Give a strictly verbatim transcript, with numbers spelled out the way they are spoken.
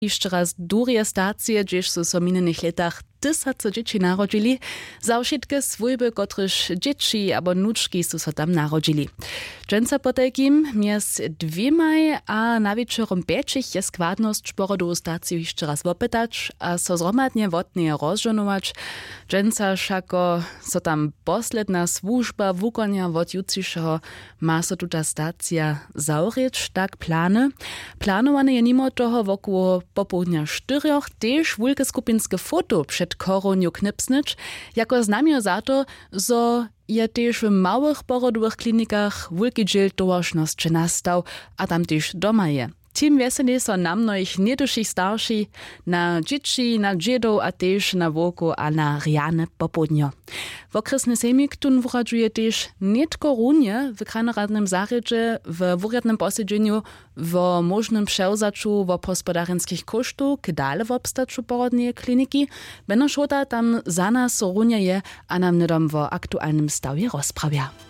hišće raz durje stacije, hdźež su so w minjenych lětach tysacy dźěći narodźili, za wšitke swójby, kotrež dźěći abo nučki su so tam narodźili. Dźensa potajkim mjez dwěmaj a nawječorom pjećich je składnosć porodowu staciju hišće raz wopytać a so zhromadnje wotneje rozžohnować. Dźensa wšako so tam posledna słužba wukonja. Wot jutřišeho ma so tuta stacija zawrěć, tak plany. Planowane je nimo toho wokoło popołdnja štyrjoch tež wulke skupinske foto před chorownju knipsnyć, jako znamjo za to, zo je tež w małych porodowych klinikach wulki dźěl towaršnosće nastał a tam tež doma je. Tim wjeseli so na mnohich něhdyšich starši, na dźěći, na dźědow a tež na wowkow a na rjane popołdnjo. Wokrjesny sejmik tón wuradźuje tež nětko runje w krajnoradnym zarjedźe we wurjadnym posedźenju wo móžnym přewzaću wobhospodarjenskich kóštow k dale wobstaću porodneje kliniki. Beno šołta tam za nas runje je a nam hnydom wo aktualnym stawje rozprawja.